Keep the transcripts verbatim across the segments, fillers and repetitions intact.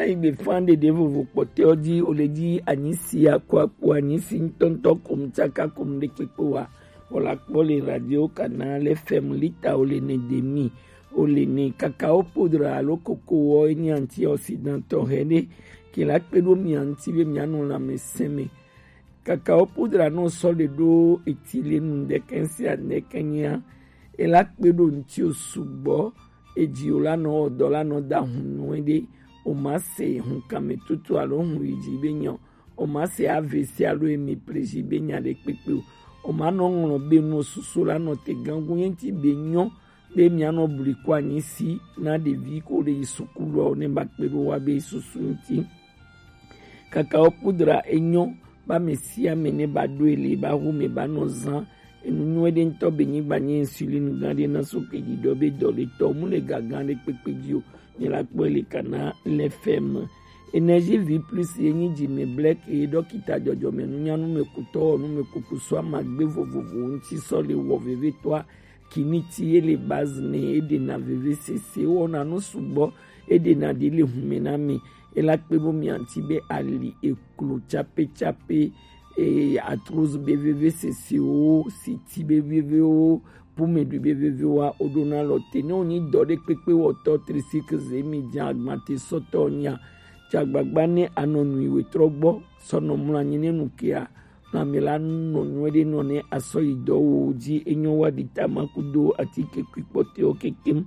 Ayi gbe fan ɖeɖe vovo kpɔtɛ ɔ dzi, o le dzi anyi si akɔ akpo anyi si ŋutɔŋutɔ kom tsaka kom ɖe kpekpe wa. Wɔ la kpɔ le radio kana le fɛm lita o le ne demi o le ne kakao poudre alo koko wɔ enyi antioxydant tɔ hɛ ɖe ke la kpe ɖo mia ŋuti be mia nɔ lãmesẽ me. Kakao poudre nɔ sɔ le ɖo eti le nu ɖekɛ si aɖekɛ nyia, e la kpe ɖo ŋuti o sugbɔ. Eji o la nɔ ɔdɔ la nɔ da hun nyuie ɖe. O ma se hun kame tutu alo hun yi dzi be nyɔ. O ma se A V C alo hémiplégie be nya ɖe kpekpe o. O ma nɔ ŋlɔ be nu susu la nɔ te gangu ye ŋuti be nyɔ be mia nɔ bli ko anyi si na ɖevi ko le yi sukulu o ne ba kpe ɖo wa be susu ŋuti. Kakao poudre enyɔ ba me sia me ne ba ɖo ele ba hu me ba nɔ zan. Enu nyuie ɖe ŋutɔ be nyigba nye insuline gã ɖe na so ke ɖiɖɔ be dɔ le tɔ mu le gaga ɖe kpekpe dzi o. Mi la kpɔe le kana le fɛm. Énergie vie plus ye nyi dzi me blɛk ye ɖɔkita dzɔdzɔme nunyanu me kutɔ nu me kuku so amagbe vovovo ŋuti sɔ le wɔ vevetɔa. Kiniti ye le base ne e ɖena vevesese wɔna nu sugbɔ. E ɖena ɖi le hume na mi. E la kpe bo mi anti be ali eklo tsape tsape, e arthrose be vevesesewo, siti be vevewo, pumeɖui be vevewoa, o ɖona lɔ te ne o nyi dɔ ɖe kpekpe wɔtɔ, tricycle ze mi dze agbate sɔtɔ nya. Dze agbagba ne anɔ nui wetrɔ gbɔ sɔ nɔ mlɔ anyi ne nu kea, lãme la nɔ nyuie ɖe nɔ ne asɔ yi dɔ wo dzi enyɔ wa ɖi tama kudo atike kui kpɔtɛwo kekem.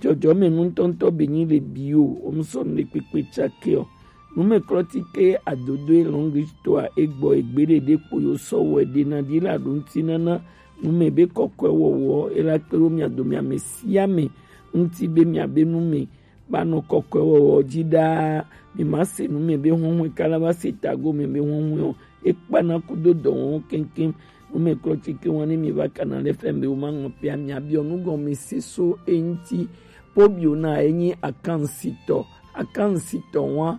Dzɔdzɔme nutɔntɔ be nyi le bio, o mu sɔ nu ɖe kpekpe tsake o. Numeklɔtike adodoe longue histoire egbɔ egbe ɖeɖe kpo yo sɔ wɔ ɖe na ɖi la ɖo ŋuti nana nume be kɔkɔe wɔwɔ e la kpe ɖo mia dome ame sia ame ŋuti be mia be nume ba nɔ kɔkɔe wɔwɔ dzi ɖaa. Mi ma se nume be huhue kala va se tago me be huhue o. E kpana kudo dɔwɔwɔ keŋkeŋ. Numeklɔtike wa ne mi va kana le fɛn be wo ma ŋlɔ pia mia biɔ nugɔme se so e ŋuti. Pobio na enyi akansitɔ. Akansitɔ wa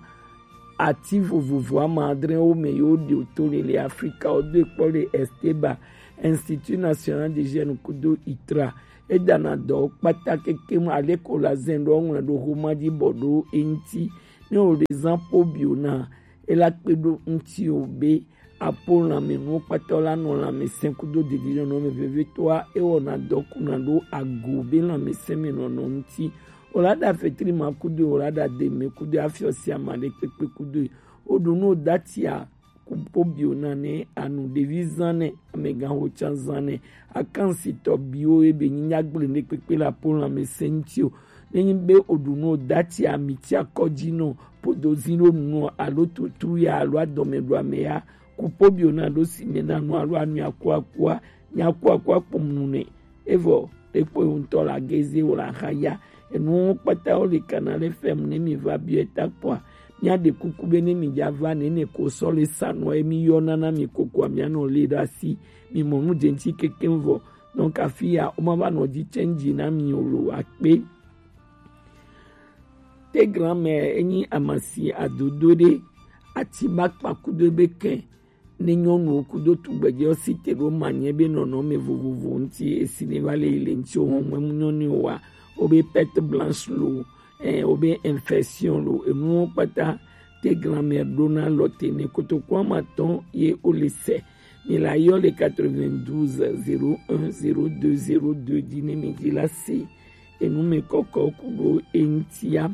ati vovovo ama adre wo me yo ɖe o to le le Afrika o do e kpɔ le Esteba, Institut National d'Hygiène kudo itra. E dana dɔ kpata kekem ale ko la zɛn ɖo ŋlɔ ɖo homa dzi bɔ ɖo e ŋuti. Ne o le zan pobio na e la kpe ɖo ŋuti o be apo lãme nuwo kpata la nɔ lãme sɛn kudo didi nɔnɔ me vevitɔa e wɔna dɔ kuna ɖo ago be lãme sɛn me nɔnɔ ŋuti. O la ɖa fetri ma kudo, o la ɖa deme kudo, afiɔ sia ma ɖe kpekpe kudo. O ɖu nu o datia ku pobio na ne anu ɖevi zan ne amegã ho tsa zan ne akansitɔ biwo ebe nyi nyagblẽ ɖe kpekpe la po lãme sɛn ŋuti o. Ne nyi be o ɖu nu o dati ami ti akɔ dzi nɔ podo zi ɖo nu alo tutru ya alo adɔme ɖo ame ya ku pobio na ɖo si me na nu alo anu aku akua nya aku akua kpɔm nu ne. Evɔ ɖekpo ŋutɔ la geze o la xa ya. Enuwo kpata wo le kana le fɛm ne mi va biɔ eta kpɔa. Mia ɖe kuku be ne mi dza va nene ko sɔ le sanɔ emi yɔ nana mi kokoa mia nɔ le ɖe asi. Mi mɔ nu dze ŋuti kekem vɔ. Donc afi ya wo ma va nɔ dzi change na mi o lo akpe. Te grand-mère enyi amasi adodo ɖe ati ba kpa kudo be kɛ ne nyɔnuwo kudo tugbedzewo si te ɖo manyɛ be nɔnɔme vovovo ŋuti esi ne va le yi le ŋuti o hɔn mɛ mu nyɔ ni o wa o be perte blanche lo ɛ o be infection lo enuwo kpata te grand-mère ɖona lɔ te ne kotoku ama tɔn ye o le sɛ mi la yɔ le quatre-vingt-douze zéro un zéro deux zéro deux dzi ne mi dzi la se enu me kɔkɔ ku ɖo eŋutia.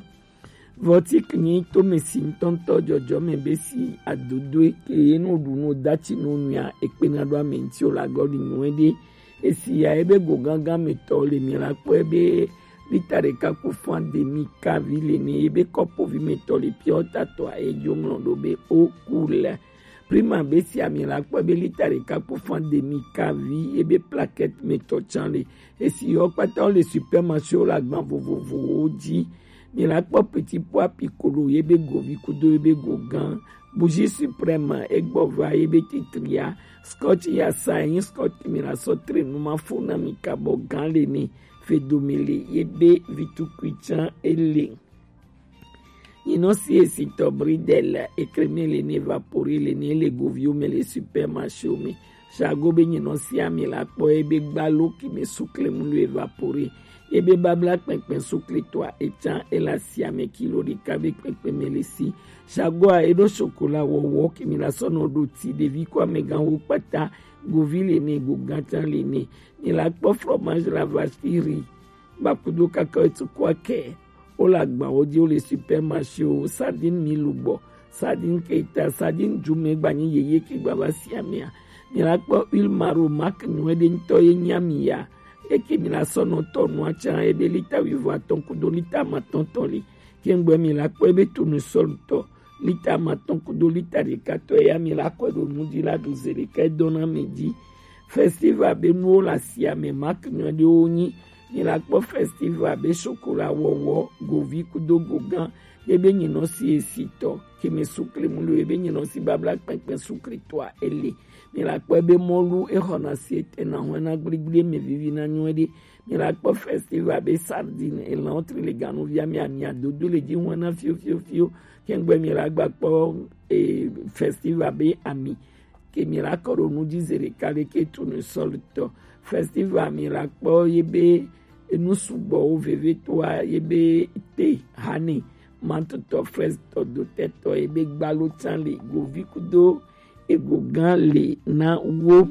Vɔtik nyi tome si ŋutɔŋutɔ dzɔdzɔme be si adodoe ke ye no ɖu no dati no nua ekpena ɖo ame ŋuti o la gɔ ɖi nyuie ɖe. Esi ya ebe go gangan me tɔ le mi la kpɔ ebe lita ɖeka kpo fan demi kavi le ne ebe kɔpovi me tɔ le piɔ tatɔ a edzo ŋlɔ ɖo be o ku le. Prima be si ami la kpɔ be lita ɖeka kpo fan demi kavi ebe plaquette me tɔ tsan le. Esi yɔ kpata wo le supermarché wo le agban vovovowo dzi. Mi la kpɔ petit pois piccolo ye be govi kudo ye be go gã. Bougie suprême egbɔ va ye be titria. Scotch ya sa yin scotch mi la sɔ tre nu ma fo na mi kabɔ gã le ni. Fe do mi le ye be vitu kuitsan ele. Nyinɔ si esitɔ bridel ekreme le ne vapori le ne le goviwo me le supermarché wo me. Sago be nyinɔ si ami la kpɔ ye be gbalo ki me suklemu lo evapori. Ebe babla kpɛnkpɛn suklitɔa ecan ela siame kilo ɖeka be kpɛnkpɛn mɛ le si. Sagoa eɖo sokola wɔwɔ kemi la sɔnɔ ɖo ti ɖevi ko amɛgan wo kpata, govi le ne, gogan can le ne. Mi la kpɔ fromage la vache qui rit. Bakudo kaka etu ko akɛ. Wo le agbawo ji, wo le supermarché o, sardine mi lugbɔ, sardine keta, sardine jumɛ gbanyi yeye ke gbava siamea. Mi la kpɔ huile maro marque nyuɛ ɖe ŋutɔ ye nya mi ya. Eke mi la sɔnɔ tɔ nua can ebe lita wivɔ atɔn kudo lita amatɔn tɔ li. Kengbe mi la kpɔ ebe tournesol tɔ lita amatɔn kudo lita ɖeka tɔ ya mi la kɔe ɖo nu ji la ɖu ze ɖeka edɔna mi ji. Festival be nuwo le asiame marque nyuɛ ɖewo nyi. Mi la kpɔ festival be sokola wɔwɔ, govi kudo gogan, ebe nyinɔ si esitɔ keme sukle mu le ebe nyinɔ si babla kpɛnkpɛn suklitɔa ele. Mi la kpɔ ebe mɔlu exɔna si etɛna hɔn na gbligble me vivi na nyuɛ ɖe. Mi la kpɔ festival be sardine elan tri le ganu via mi ami adodo le ji hɔn na fio fio fio. Kengbe mi la gba kpɔ e festival be ami ke mi la kɔ ɖo nu ji ze ɖeka le ke tournesol tɔ. Festival mi la kpɔ ye be enu sugbɔwo veve toa ye be te hane, mantotɔ, fraise tɔ, dotɛ tɔ, ye be gbalo can le, govi kudo ego gan le na wo.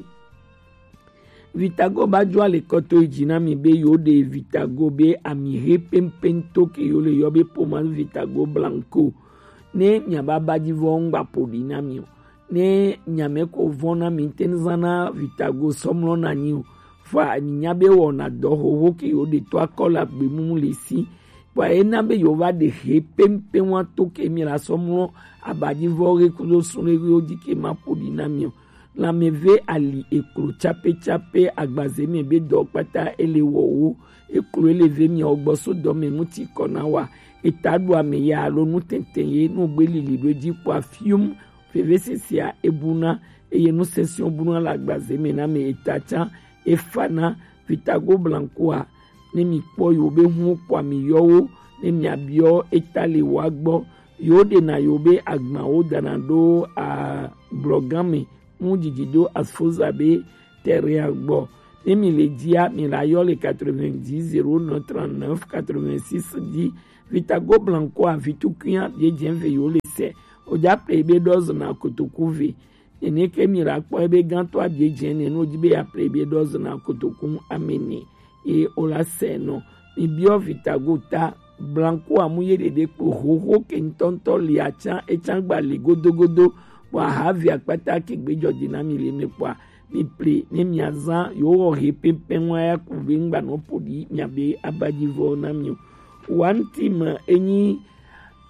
Vitago ba jo ale kɔto yi ji na mi be yo de Vitago be ami he pempento ke yo le yɔ be pommade Vitago blanco. Ne mi aba ba ji vɔ ngba poli na mi o. Ne nyame ko vɔ na mi te zan na Vitago sɔmlɔ na nyi o. Fa mi nya be wɔna dɔ hoho ke yo de to akɔ la gbe mumu le si. Bua ena be yo va de he pempem wa to ke mi la sɔmlɔ abadivɔ he kudo sun le wo ji ke ma poli na mi o. Lanmeve ali eklo capécapé agbaze mɛ be dɔ kpata ele wɔ wo. Eklo ele ve mia wo gbɔ so dɔ mɛ mu ti kɔ na wa. Eta ɖu ame ya alo nu tɛntɛn ye nu gbe lili ɖo edzi kpɔa fium. Vevesesea ebuna eye nu sɛsɛwo buna le agbaze mɛ na mɛ eta can efana. Vitago blancoa ne mi kpɔ yo be hu kpɔa mi yɔwo ne mia biɔ eta le wa gbɔ. Yo ɖena yo be agbawo dana ɖo a blɔgan mɛ mu didi ɖo asfoza be terrain gbɔ. Ne mi le jia mi la yɔ le quatre-vingt-dix zéro neuf trente-neuf quatre-vingt-six ji. Vitago blancoa vitukunya bie jɛn ve yo le sɛ. Oja pe be dɔzɔ na kotoku ve. Nene ke mi la kpɔ ebe gãtɔ abie dze ne no dzi be ya ple ebe dɔ zena kotoku amene ye o la sɛ nɔ. Mi biɔ Vitago ta blanco amu ye ɖeɖe kpo hoho ke ŋutɔŋutɔ li atsa etsa gba li godogodo. Bɔ ahavi akpata ke gbe jɔ dzi na mi le me kpɔa mi ple ne mia zã yo wɔ he pɛpɛ ŋua ya ku be ŋgba nɔ ƒo ɖi mia be abadzi vɔ na mi o. Wanti me enyi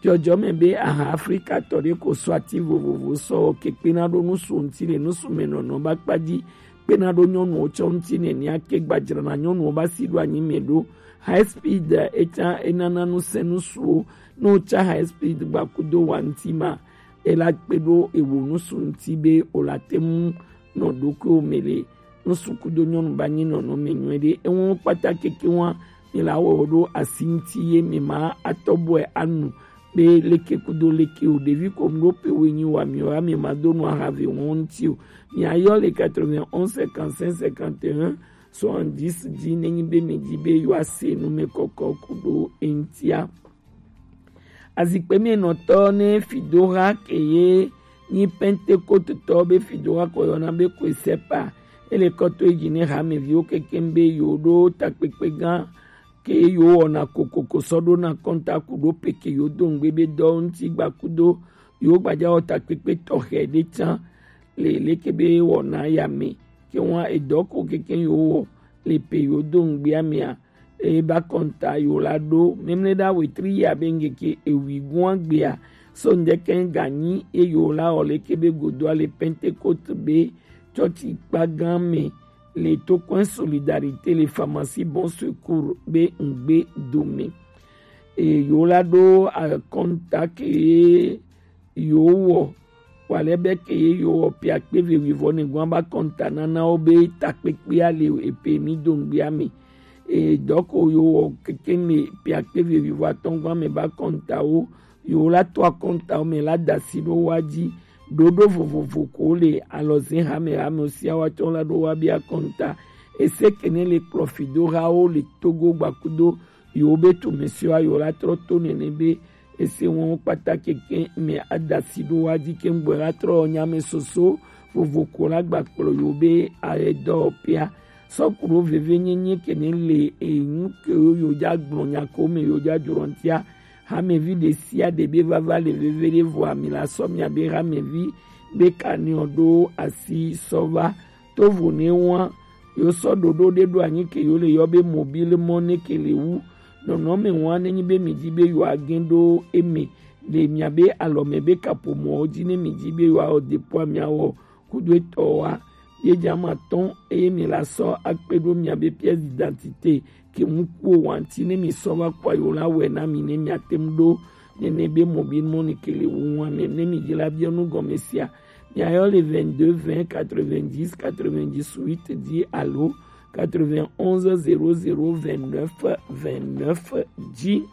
Dzɔdzɔme be aha Afrikatɔ ɖe ko sɔ ati vovovo sɔ ke kpena ɖo nusu ŋuti le nusu me nɔnɔ ba kpa dzi, kpena ɖo nyɔnuwo tsɔ ŋuti nɛnɛa ke gbadzrana nyɔnuwo ba si ɖo anyi me ɖo. High speed etsa enana nusẽ nusuwo, ne wotsa high speed gbakudo wa ŋuti ma, ela kpe ɖo ewo nusu ŋuti be wola te ŋu nɔ ɖokuiwo me le nusu kudo nyɔnu ba nyi nɔnɔme nyuiɖe. Ewo kpata keke wa mi la wɔ ɖo asi ŋuti ye mi ma atɔ bɔe anu be leke kudo leke o. Ɖevi ko mu ɖo pe wo nyi wa mi o, ame ma do nu aha ve wɔn ŋuti o. Mi ayɔ le quatre-vingt-onze cinquante-cinq cinquante et un soixante-dix dzi ne nyi be mi dzi be yewoa se nu me kɔkɔ ku ɖo eŋutia. Azikpe me nɔtɔ ne Fidoha ke ye nyi Pentekototɔ be Fidoha ko yɔna be Koesepa. Ele kɔtɔ yi dzi ne hameviwo kekem be yewo ɖo takpekpe gã ke yewo wɔna kokoko sɔ ɖo na kɔnta ku ɖo pe ke yewo do ŋgbe be dɔ ŋuti gba kudo yewo gbaja wɔ takpekpe tɔxɛ ɖe tsã le leke be wɔna ya me. Ke wa edɔ ko kekem yewo wɔ le pe yewo do ŋgbea mea, eye ba kɔnta yewo la ɖo memle ɖa wetri ya be ŋgeke ewi gua gbea. So ŋdeke ganyi eye yewo la wɔ leke be godoa le Pentecote be tsɔtsi kpa gã me le to coin Solidarité le pharmacie Bon Secours be ŋgbe dome. Eye yewo la ɖo akɔnta ke yewo wɔ wale be ke ye yewo wɔ pia kpe ve wivɔ ne gua ba kɔnta nana wo be takpekpea le epe mi do ŋgbea me. Eye dɔ ko yewo wɔ keke me pia kpe ve wivɔ atɔ̃ gua me ba kɔnta wo yewo la to akɔntawo me la da asi ɖo wa dzi. Ɖoɖo vovovo ko le alɔze hame hame sia wa tsɔ la ɖo wa bia kɔnta. Ese ke ne le kplɔ fidohawo le Togo gbakudo yewo be tumɛsɛwo a yewo la trɔ to nɛnɛ be ese wɔn kpata keke mɛ adasi ɖo wa ji ke ŋgbɔ la trɔ nyamɛ soso vovo ko la gba kplɔ yewo be ayɛ dɔ pia. Sɔkuɖo veve nyenye ke ne le enu ke yo yo ja gblɔ nya ko me yo ja jrɔntia. Hamevi ɖe sia ɖe be vava le veve ɖe vɔ ami la sɔ mia be hamevi be kaniɔ ɖo asi sɔ va. Tovo ne wa yo sɔ ɖoɖo ɖe ɖo anyi ke yo le yɔ be mobile mɔ ne ke le wu. Nɔnɔme wa ne nyi be mi di be yo agen ɖo eme le mia be alɔ me be kapo mɔ ji ne mi di be yo awɔ depo amia wɔ kudo etɔ wa. Ye jama tɔn eye mi la sɔ akpe ɖo mia be pièce d'identité ke mu kuo wanti ne mi sɔ va kpɔ yo la wɛ na mi ne mia tem ɖo nɛnɛ be mobile money ke le wu wa me ne mi di la biɔ nu gɔme sia. Mia yɔ le vingt-deux vingt quatre-vingt-dix quatre-vingt-dix-huit di alo quatre-vingt-onze zéro zéro vingt-neuf vingt-neuf di.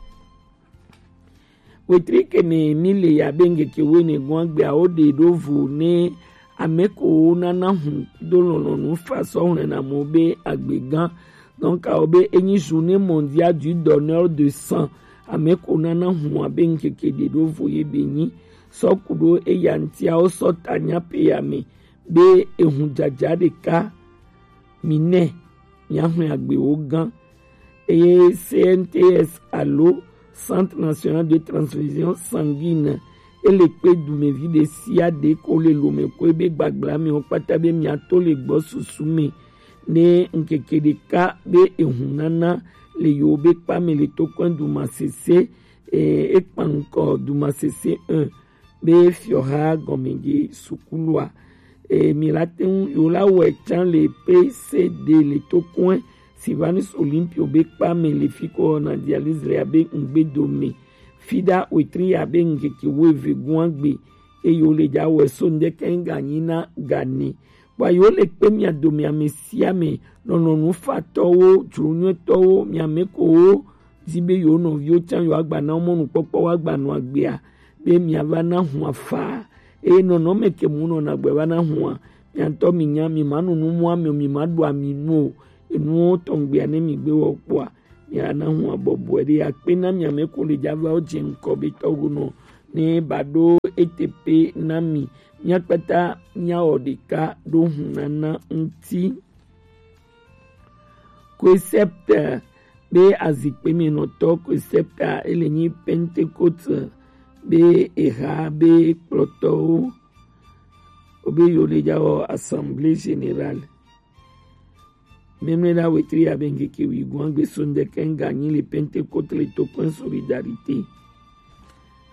Wetri ke ne mi le ya be ŋkeke wene gɔn agbe awo ɖe ɖo vo ne ame ko nana hun do lɔlɔnu fa sɔ hlɛna mo be agbe gan. Donc awo be enyi journée mondiale du donneur de sang. Ame ko nana hun abe ŋkeke ɖe ɖo vo ye be nyi sɔ kuɖo eya ŋtia wo sɔ ta nya pe ya me be ehun jaja ɖeka mi nɛ mia hlɛn agbe wo gan. Eye C N T S alo Centre National de Transfusion Sanguine ele kpe dumevi ɖe sia ɖe ko le lome ko ebe gbagbla mi wo kpata be mia to le gbɔ susu me ne ŋkeke ɖeka be ehun nana le yo be kpa me le to kɔn dumasese e ekpan ŋkɔ dumasese un be fiɔha gɔmɛdze sukulua. E, mi la te ŋu yo la wɛ can le P C D le to kɔn Sylvanus Olympio be kpa me le fi ko na dialyse le abe ŋgbe do me. Fida wetri abe ŋkeke wo eve gɔn agbe e yo le ja wɛ so ŋdɛ kɛn ga nyi na ga ne. Bua yo le kpe mia do mia me sia me nɔnɔnu fa tɔwo, jronyɔtɔwo, mia me ko wo di be yo nɔviwo can yo agba na wo mɔnukpɔkpɔ wo agba nɔ agbea be mia va na hua fa. Eye nɔnɔme ke mu nɔ na gbe va na hua. Mia ŋutɔ mi nya mi ma nu nu mu ame o, mi ma ɖu ami nu o. Enuwo tɔngbea ne mi gbe wɔ kpɔa mia na hua bɔbɔe ɖe akpe na mia me ko le java wo dze ŋkɔ be tɔgbo nɔ ne ba ɖo ete pe na mi. Mia kpata mia wɔ ɖeka ɖo hu nana ŋuti. Concept be azikpe me nɔtɔ concept a ele nyi Pentecôte be eha be kplɔtɔwo obe yo le ja wɔ assemblée générale. Memle la wetri abe ŋkeke wi gɔn agbe so ŋdɛ kɛn ga nyi le Pentecôte le to kɔn solidarité.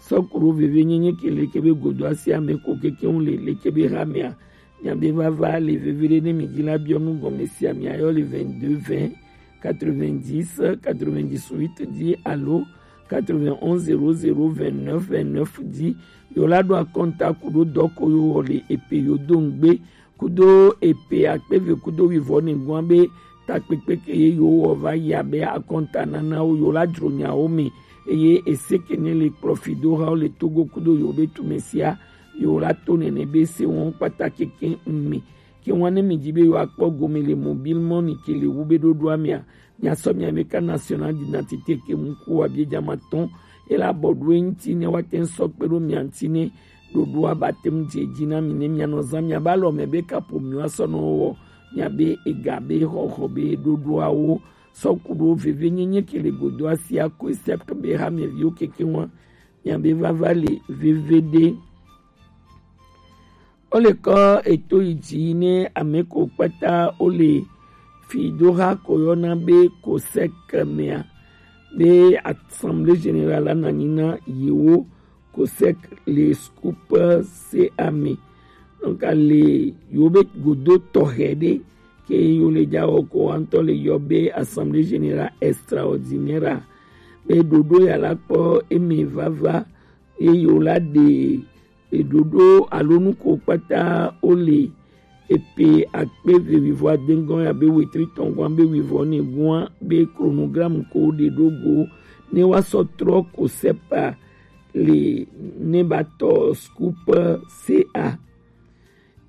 Sɔkuro veve nyenye ke leke be godo asi ame ko keke ŋu le leke be hamea. Mia be vava le veve ɖe ne mi dzi la biɔ nu gɔme sia mia yɔ le vingt-deux vingt quatre-vingt-dix quatre-vingt-dix-huit dzi alo quatre-vingt-onze zéro zéro vingt-neuf vingt-neuf dzi. Yo la ɖo akɔnta ku ɖo dɔ ko yo wɔ le epe yo do ŋgbe kudo epe akpe eve kudo wivɔ ne gɔn be takpekpe ke ye yo wɔ va yi abe akɔnta nana wo yo la dzro nyawo me eye ese ke ne le kplɔ fi do ha wo le Togo kudo yo be tume sia yo la to nene be se wɔn kpata keke ŋme ke wɔn ne mi dzi be yo akpɔ gome le mobile money ke le wu be ɖoɖoa mea mia sɔ mia be ka national d'identité ke mu ku wa bie jama tɔn ela bɔ ɖo eŋti ne wa te sɔ kpe ɖo mia ŋti ne ɖoɖoa ba te mu dze dzi na mi ne mia nɔ zan mia ba lɔ me be kapo mi wa sɔ nɔ wɔ mia be ega be xɔxɔ be ɖoɖoawo sɔ ku ɖo veve nyenye ke le godo asia ko esɛpte be ha mia viwo keke wa mia be vava le veve ɖe. Wo le kɔ eto yi dzi ne ame ko kpata wo le fi do ha ko yɔna be kosɛk mea be assemblée générale la na nyi na yewo kosɛk le scoop C A me. Donc ale yewo be godo tɔxɛ ɖe ke yo le ja wɔ ko wa ŋutɔ le yɔ be assemblée générale extraordinaire a be ɖoɖo ya la kpɔ eme vava ye yewo la ɖe eɖoɖo alo nuko kpata wo le epe akpe eve wivɔ adengɔn ya be wetri tɔngɔn be wivɔ ne gua be chronogramme ko ɖe ɖo go ne wa sɔ trɔ ko sepa le ne ba tɔ scoop C A.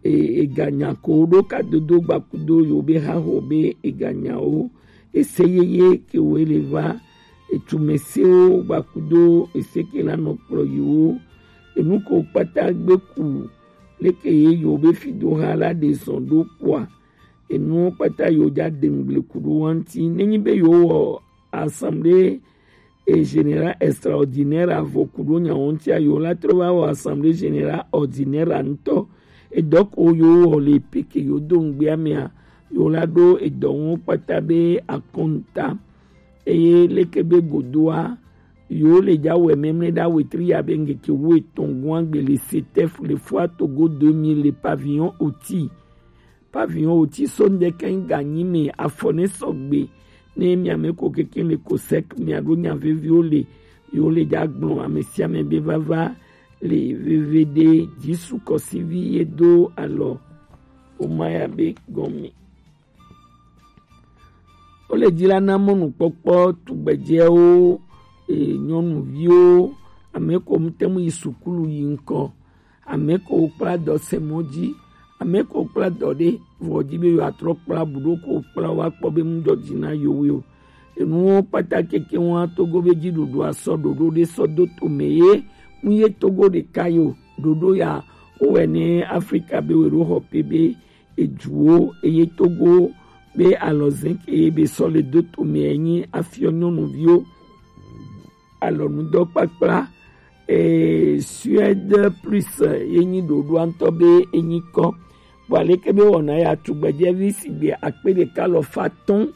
e, eganya ko ɖo kadodo gbakudo yo be haho be eganyawo, ese yeye ke wo le va, etumɛsewo gbakudo ese ke la nɔ kplɔ yiwo, enu ko kpata gbe ku leke ye yo be fidoha la ɖe zɔn ɖo kpoa, enuwo kpata yo ja dengble ku ɖo wa ŋuti. Nenyi be yo wɔ assemblée et générale extraordinaire avɔ ku ɖo nyawo ŋutia, yo la trɔ va wɔ assemblée générale ordinaire ŋutɔ. Edɔ ko yo wɔ le peke yo do ŋgbea mea, yo la ɖo edɔ ŋu kpata be akɔnta. Eye leke be godoa, yo le ja wɛ mɛmlɛ ɖa wetri ya be ŋkeke wo etɔn gɔn agbe le setɛf le fua Togo deux mille le pavillon oti. Pavillon oti so ŋdɛkɛ ŋganyi me afɔ ne sɔgbe. Ne miame ko keke le ko sɛk miaɖo nya veviwo le, yo le ja gblɔ ame sia ame be vava le veve ɖe Jesu kɔsivi ye do alɔ. Woma ya be gɔme. Wo le dzi la na mɔnukpɔkpɔ tugbedzɛwo, e, nyɔnuviwo, ame ko ŋute mu yi sukulu yi ŋkɔ, ame ko kpla dɔ se mɔ dzi, ame ko kpla dɔ ɖe vɔ dzi be yewoatrɔ kpla bu ɖo ko kpla wa kpɔ be nu dzɔ dzi na yewo o. Enuwo kpata keke wa Togo be dziɖuɖu asɔ ɖoɖo ɖe sɔ do to me ye, nu ye Togo ɖeka yo, ɖoɖo ya wowɛ ne Afrika be we ɖo xɔ pe be eduwo eye Togo be alɔzɛn ke be sɔ le do to me enyi afiɔ nyɔnuviwo alɔnudɔkpakpla. Eh, Suède plus ye nyi ɖoɖoa ŋutɔ be enyi kɔ. Vɔ aleke be wɔna ya tugbedzɛvi sigbe akpe ɖeka alafa atɔ̃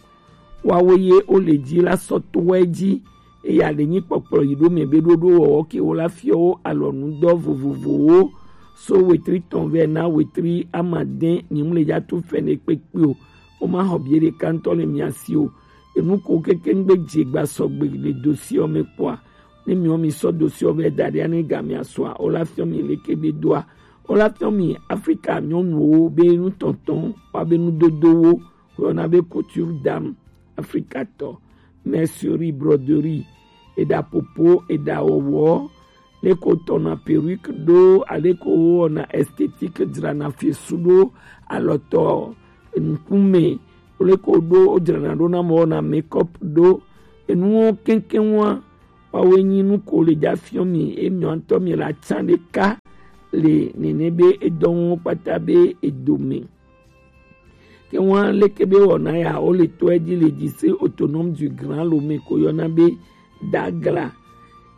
wawo ye wo le dzi la sɔ to wɛ dzi. Eya le nyi kpɔkplɔ yi ɖo mɛ be ɖoɖo wɔwɔ ke wo la fiɔ wo alɔnudɔ vovovowo so wetri tɔn vɛ na wetri amadɛn. Nyimle ya tu fɛnɛ kpekpe o. Wo ma xɔ bie ɖeka ŋutɔ le mia si o. Enu ko keke ŋgbe dze gba sɔgbe le dossier ɔ me kpɔa, ne miɔ mi sɔ dossier ɔ vɛ da ɖi ane ga mia sɔa, wo la fiɔ mi leke be doa, wo la fiɔ mi Afrika nyɔnuwo be nutɔntɔn wa be nudodowo, wo yɔna be couture d'âme afrikatɔ, mercerie, broderie, eɖa popo, eɖa wɔwɔ, leko tɔna perruque ɖo, aleko wɔna esthétique dzrana fesu ɖo, alɔtɔ, ŋkume, leko ɖo wodzrana ɖo na mɔ wɔna make-up ɖo. Enuwo kɛnkɛn wa, wawoe nyi nu ko le dza fiɔ mi, emiɔ ŋutɔ mi la tsa ɖeka le nene be edɔwɔn kpata be edome. Ke wa leke be wɔna ya wo le to edzi le dzi se autonome du Grand Lomé ko yɔna be Dagla.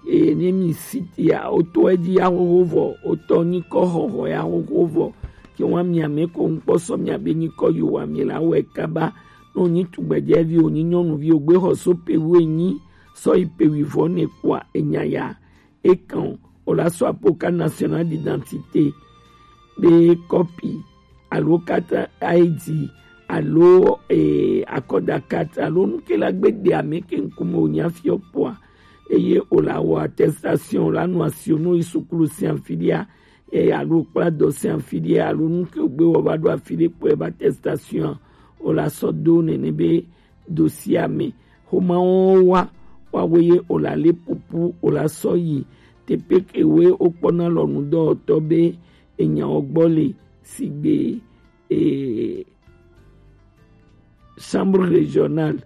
Eye ne mi site ya wo to edzi ya xoxo vɔ, wo tɔ nyi kɔ xɔxɔ ya xoxo vɔ. Ke wa mia me ko ŋkpɔ sɔ mia be nyi kɔ yo wa mi la wɛ kaba. No nyi tugbedzɛvi o nyi nyɔnuvi o gbe xɔ so pe wo enyi sɔ yi pe wi vɔ ne kua enya ya. Ekan o la sɔ apoka national d'identité be kɔpi alo carte I D alo eh, akɔda carte alo nuke la gbe de ame ke ŋkume o nya fiɔ kpɔa, eye o la wɔ attestation o la nu asi o no yi sukulu sian fidia, eh, alo kpla dɔ sian fidia alo nuke o gbe wɔ va ɖo afi ɖe kpɔe ba attestation o la sɔ do nene be dossier me. Xomawɔwɔ wa, wawoe ye o la le pupu o la sɔ yi teƒe kewoe wokpɔna lɔnudɔwɔtɔ be enyawo gbɔ le sigbe e, chambre régionale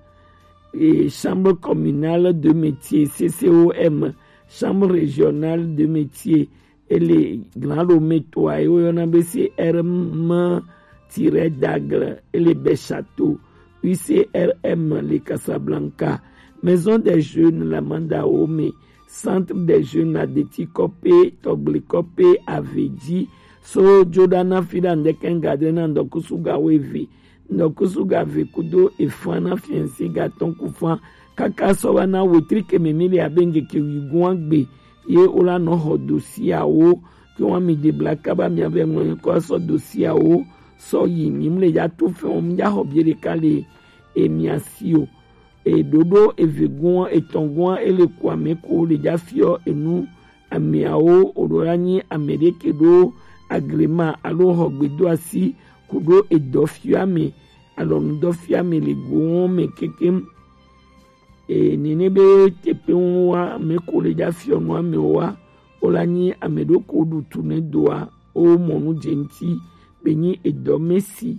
e, chambre communale de métier C C O M, chambre régionale de métier. Ele Grand Lomé toa ye woyɔna be C R M tiret Dagle, ele Bɛshato, U C R M le Casablanca, Maison des Jeunes la Mandawome, Centre des Jeunes la Deti Kɔpe, Tɔgble Kɔpe, Avedzi, so jo ɖa na fi ɖa ŋdɛkɛ ŋga dre na ŋdɔkusu ga wo eve, ŋdɔkusu ga ve kudo efan na fiɛnsi ga tɔn ku fan, kaka sɔ va na wetri ke mɛ mi le abe ŋgeke wigun agbe, ye wo la nɔ xɔ dosiawo, ke wa mi de bla kaba mia vɛ ŋlɔ nyikɔ sɔ dosiawo sɔ yi mi mle ya to fɛn o mi ya xɔ bie ɖeka le emia si o. Eɖoɖo eve gɔn etɔn gɔn ele ku ame ko le ja fiɔ enu ameawo o ɖo la nyi ame ɖe ke ɖo agrema alo xɔ gbedo asi ku ɖo edɔ fiɔ ame alɔnu dɔ fiɔ ame le gɔn mɛ kekem. E, nene be teƒe ŋu wa ame ko le dza fiɔ nu amewo wa, wo la nyi ame ɖo ko ɖu tu ne doa, wo mɔ nu dze ŋuti, be nyi edɔmesi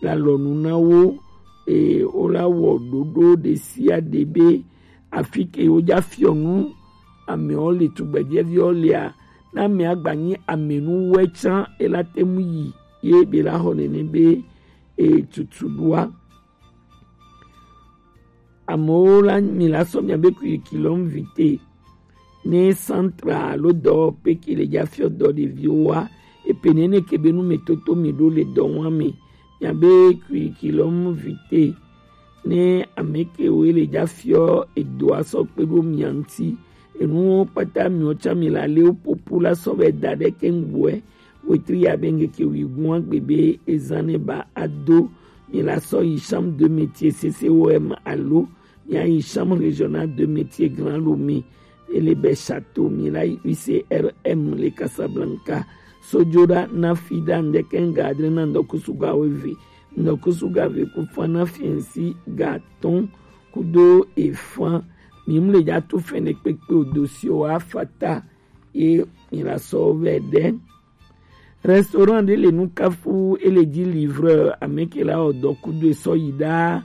le alɔnu na wo. Eye wola wɔ ɖoɖo ɖe sia ɖe be afi ke woja fiɔ nu amewo le, tugbedzɛviwo lea, na amea gba nyi amenuwɛ tsã, ela te ŋu yi ye be la xɔ nene be e tutu ɖoa. Amewo la, mi la sɔ miabe curriculum vitae ne centre alo dɔwɔƒe ke le ja fiɔ dɔ ɖeviwo wa, epe nene ke be nu me toto mi ɖo le dɔ wa me. Miabe curriculum vitae ne ame ke wo le ja fiɔ edoa sɔ kpe ɖo mia ŋuti. Enuwo kpata miwo tsã mi la le wo popo la sɔ be da ɖe ke ŋgbɔe. Wetri ya be ŋkeke wi gua gbe be ezan ne ba ado. Mi la sɔ yi chambre de métier C C O M alo mi ayi chambre régionale de métier Grand Lomé. Ele be château mi la yi U C R M le Casablanca. Sojoɖa na fi ɖa ŋdeke ŋga adre na ŋdɔkusu ga weve. Ŋdɔkusu ga ve ku fa na fiɛnsi ga atɔn kudo efan. Mi mu le ja tu fɛnɛ kpekpe o dossier wa fata ye mi la sɔ vɛ ɖe. Restaurant ɖe le Nukafu, ele ji livreur, ame ke la wɔ dɔ kudo esɔ yi ɖa.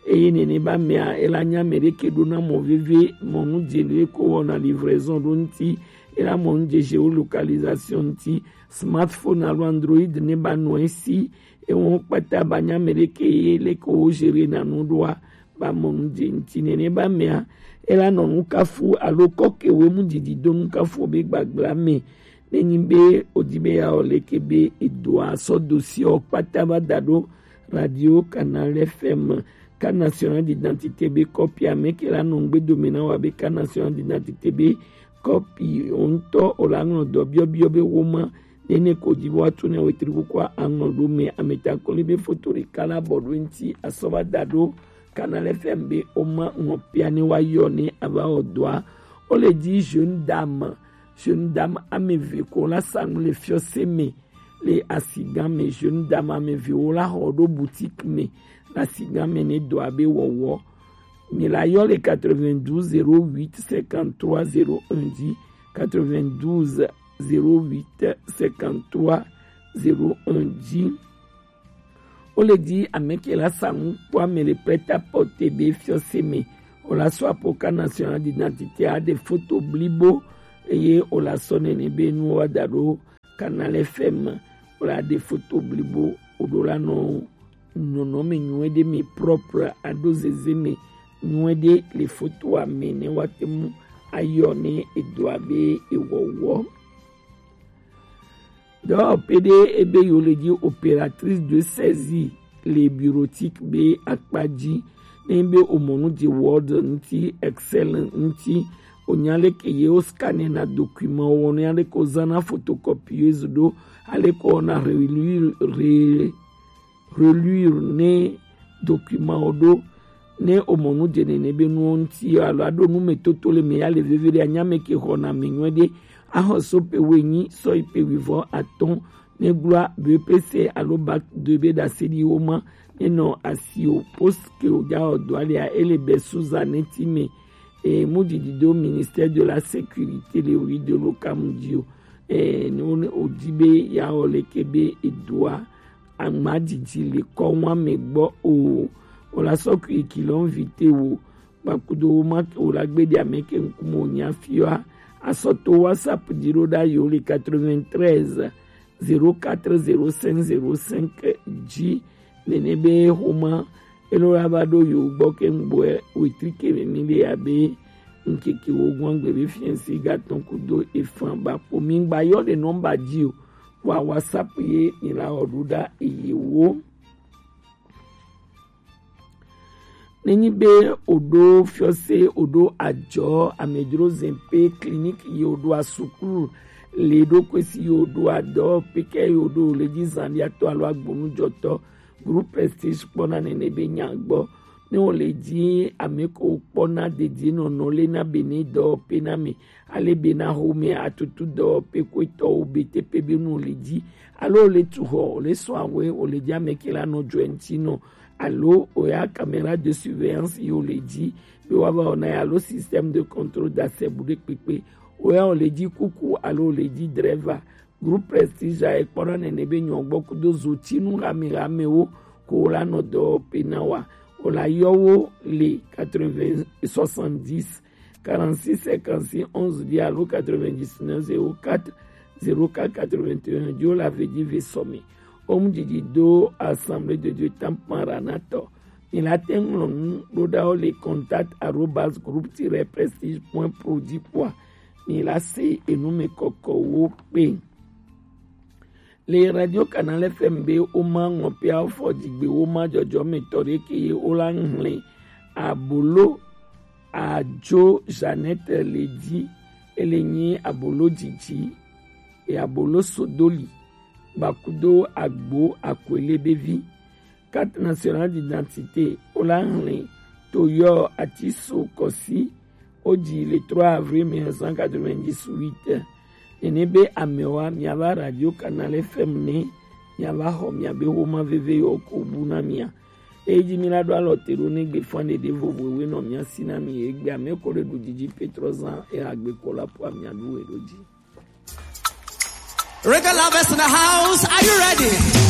Eye nene ba mea, ela nya ame ɖe ke ɖo na mɔ veve, mɔnu dze ɖe ko wɔna livraison ɖo ŋuti, ela mɔnu dze géolocalisation ŋuti, smartphone alo Android ne ba nɔ esi, ewɔn kpata ba nya ame ɖe ke ye le ko wo gérer na nu ɖoa, ba mɔnu dze ŋuti nene ba mea, ela nɔ Nukafu alo kɔke wo mu didi do Nukafu be gbagbla me. Ne nyi be odi be ya o leke be edoa sɔ dossier o kpata ba da ɖo radio Canal F M, carte nationale d'identité be kɔpi ame ke la nɔ ŋgbe dome na wa be carte nationale d'identité be kɔpi o ŋutɔ o la ŋlɔ dɔ biɔbiɔ be wo ma nene ko di wa tu ne wetri kuku a ŋlɔ ɖo me ameta kɔli be foto ɖeka la bɔ ɖo ŋuti asɔ va da ɖo Canal F M be o ma ŋlɔ pia ne wa yɔ ne ava wɔ dɔa. O le di jeune dame, jeune dame ame eve ko la sa nu le fiɔ se me le asigan me, jeune dame ame eve wo la xɔ ɖo boutique me le asigan me ne dɔa be wɔwɔ. Mi la yɔ le quatre-vingt-douze zéro huit cinquante-trois zéro un dzi, quatre-vingt-douze zéro huit cinquante-trois zéro un dzi. O le di ame ke la sa nu kpɔ ame le prêt-à-porter be fiɔ se me. O la sɔ apoka national d'identité a ɖe foto blibo eye o la sɔ nene be nu wa da ɖo Canal F M, o la ɖe foto blibo, o ɖo la nɔ nɔnɔme nyuie ɖe me propre, aɖo zeze me nyuie ɖe le fotoa me ne wa te mu ayɔ ne edoa be ewɔwɔ. Dɔwɔƒe ɖe ebe yo le dzi opératrice de saisie le bureautique be akpa dzi. Ne be o mɔ nu dzi Word ŋuti, Excel ŋuti, o nya leke ye o scanner na document wɔ, ne aleke o zana photocopieuse ɖo, aleke o na relire, re-, relire ne document wo ɖo. Ne o mɔ nu dze nene be nuwo ŋuti alo aɖo nu me toto le me ya le veve ɖe anya me ke xɔ na me nyuie ɖe, axɔ so pe wo enyi sɔ yi pe wivɔ atɔn ne gblɔa B P C alo bac de be ɖase ɖi wo ma ne nɔ asi o poste ke o ja o dɔ alia ele be Susan ne ti me. E mu didi do ministère de la sécurité le wi de lo kamu di o. E ne o di be ya o leke be edoa aŋmadidi le kɔ wa me gbɔ o. O la sɔ kui kilɔn vite wo kpakudo wo ma ke o la gbe di ame ke ŋkume o nya fiɔ a. Asɔ to WhatsApp di ɖo ɖa yo le quatre-vingt-treize zéro quatre zéro cinq zéro cinq dzi. Nene be xoma elo la va ɖo yo gbɔ ke ŋgbɔe wetri ke me mi le abe ŋkeke wo gɔn gbe be fiɛnsi ga tɔn kudo efan ba kpo mi gba yɔ ɖe nɔmba dzi o. Wa WhatsApp ye mi la wɔ ɖo ɖa eye wo. Nenyi be o ɖo fiɔse, o ɖo ajɔ, amedzro zɛn pe clinique ye o ɖo asuklu le ɖo kwesi ye o ɖo adɔ peke ye o ɖo le dzi zan ɖi atɔ alo agbonu jɔtɔ groupe prestige kpɔna nene be nya gbɔ. Ne o le dzi ame ko kpɔna dedie nɔnɔ le na be ne dɔ pe na me ale be na xomɛ atutu dɔwɔƒe kwetɔwo be teƒe be nu le dzi alo le tu xɔ le sɔ awɛ o le dzi ame ke la nɔ dzɔɛ ŋuti nɔ alo o ya caméra de surveillance yi o le dzi be wa va wɔna ya alo système de contrôle d'accès bu ɖe kpekpe o ya o le dzi kuku alo o le dzi drɛva Groupe Prestige a ekpɔ ɖa nene be nyɔ gbɔ kudo zotinu hame hamewo ko la nɔ dɔ pe na wa. O la yɔ wo le quatre-vingts, soixante-dix, quarante-six, cinquante-six, onze dix alo quatre-vingt-dix-neuf, zéro quatre, zéro quatre, quatre-vingt-un, Dio la vedi ve sɔmi. Omu didi do Assemblée de Dieu tampan ranatɔ. Mi la te ŋlɔ nu ɖo ɖa wo le contact arobase groupe tiret prestige point pro dzi kpɔa. Mi la se enu me kɔkɔ wo kpe. Le Radio Canal F M be wo ma ŋɔ pe afɔ dzigbe wo ma dzɔdzɔ me tɔ ɖe ke ye wo la ŋlɛ abolo adzo Jeannette le dzi. Ele nyi abolo dzidzi e abolo sodoli bakudo agbo akwele be vi. Carte nationale d'identité wo la ŋlɛ to yɔ ati so kɔsi. Wodzi le trois avril mille neuf cent quatre-vingt-dix-huit. Nene be amewa miava Radio Canal F M ne miava xɔ miabe xoma veve yɔ ko bu na mia. Eyi dzi mi la ɖo alɔ te ɖo ne gbe fan ɖeɖe vovovoe nɔ mia si na mi egbe ame ko ɖe ɖu dzidzi petrɔ zan e agbe ko la po amia ɖu we ɖo dzi. Reggae lovers in the house, are you ready?